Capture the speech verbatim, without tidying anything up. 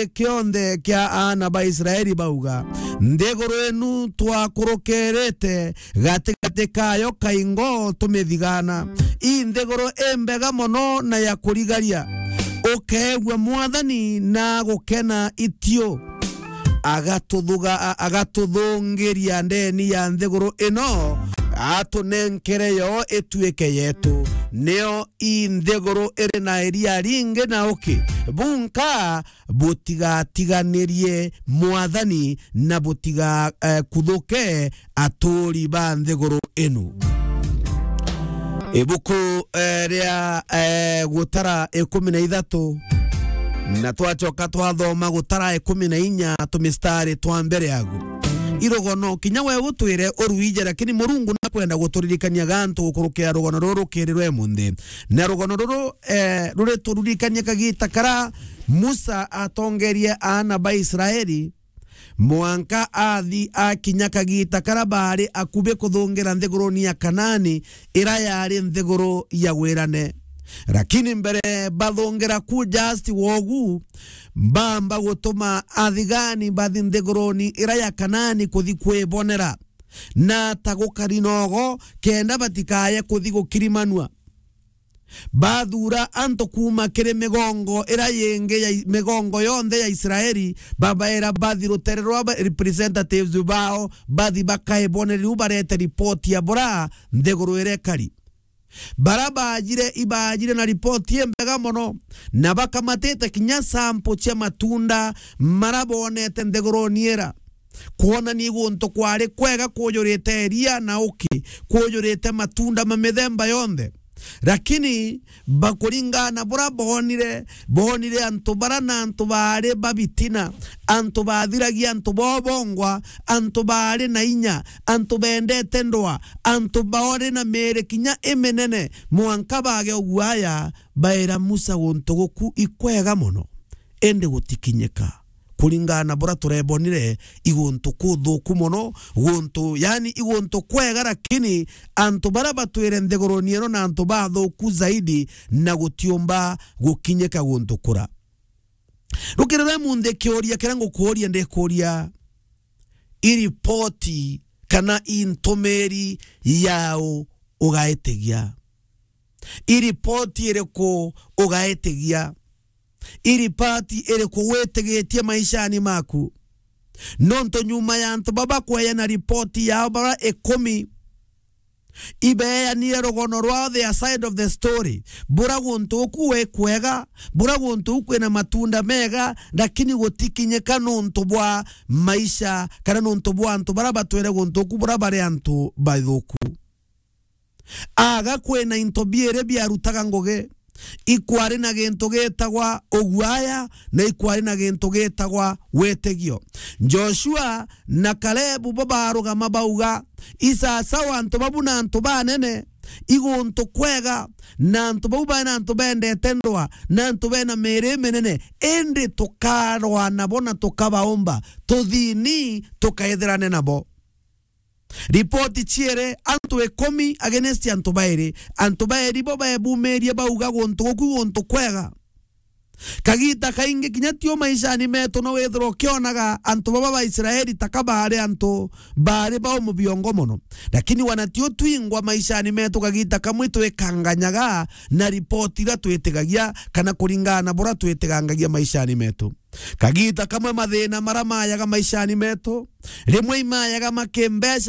kionthe kia aana ba Israeli bauga, "Nthiguru inu twakurukiirite gatigati kayo kaingo tumithigana. I nthiguru imbega mono na ya kurigaria. Ukeegua Mwathani na gukena itio." Agatuthuga-, a-, agatuthungiria ndeni ya nthiguru ino, atunenkere yo ituike yetu. Nio i nthiguru iri na iria ringi na uki. Bunka butigatiganirie Mwathani na butiga, eh, kuthuke aturi ba nthiguru inu. Ibuku, eh, ria, eh, Gutara ikumi na ithatu, na twacoka twathoma Gutara ikumi na inya, tumistari twa mbere agu. Irogono, kinya we utwire uruije, lakini Murungu nakwenda guturirikania gantu gukurukira rugono ruru rukiri rwe munthi. Na rugono ruru, eh, rurituririkania kagita kara Musa atongerie aana ba Israeli, mwanka athi akinya kagita kara baari akubi kuthungira nthiguruni ya Kanaani, ira yari nthiguru ya wirane. Lakini mbere bathungira ku just wogu, bamba gutuma athigani bathi nthiguruni ira ya Kanaani kuthi kwibonera, na ta gukari nogo, kenda batikaye kuthi gukirimanua. Bathuura antu kuuma kiri migongo ira yingi ya, migongo yonthe ya Israeli, babaira bathi rutere rwa ba-, representatives bao, bathi bakaibonere riu barete ripoti ya bura nthiguru irekari. Bara baajire, ibaajire na ripoti imbega mono, na bakamatite kinya sample cia matunda mara bonete nthiguruni ira. Kwonania guntu kwari kwega kujurite iria na uki, kujurite matunda ma mithemba yonthe. Lakini bakuringana na bura bonire, bonire antu bara na antu baari ba bitina, antu bathiragia antu bobongwa, antu baari na inya, antu bendete ndwa, antu baari na miiri kinya iminene, mwanka bage uguaya, baira Musa, guntu guku ikwega mono, indi gutikinyika. Kuringana na bura turebonire, i guntu kuthuku mono, guntu, yani, i guntu kwega, lakini antu bara batwire nthiguruni ino na antu bathuku zaidi, na gutiumba gukinyika guntu kura. Rukirire munthi kiuria kiria ngukuuria, ndikuuria, i ripoti kana i ntumiri yau ugaitigia? I ripoti iriku ugaitigia? I ripoti iriku witigitie maishani maku? Nontu nyuma ya antu baba kweya na ripoti yao bara ikumi, ibeyanire rugono rwao, their side of the story. Bura guntu uku we kwega, bura guntu uku kwina matunda mega, lakini gutikinyika nontu bwa maisha, kana nontu bwa antu bara batwire guntu uku bura bari antu bathuku. Aga kwina into biiri biarutaga ngugi. Ikwari na gintu gitagwa uguaya, na ikwari na gintu gitagwa witigio. Joshua na Kalebu bo barugama bauga, "Isasawa antu babu na antu banene, i guntu kwega, na antu bau bari na antu bendete ndwa, na antu bena miiri iminene, indi tukarwa nabo na tukabaumba, tuthini tukaithirane nabo." Ripoti ciere, antu ikumi against antu bairi. Antu bairi bo bebumirie bauga, "Guntu guku guntu kwega." Kagita kaingi kinya tio maishani metu no withirwa ukionaga antu baba ba Israeli taka baari antu baari ba umubiongo mono. Lakini wana tio twingwa maishani metu, kagita kamwe twikanganyaga na ripoti iria twitigagia kana kuringana na bura twitigangagia maishani metu. Kagita kamwe mathina mara mayaga maishani metu, rimwe imayaga makimbeca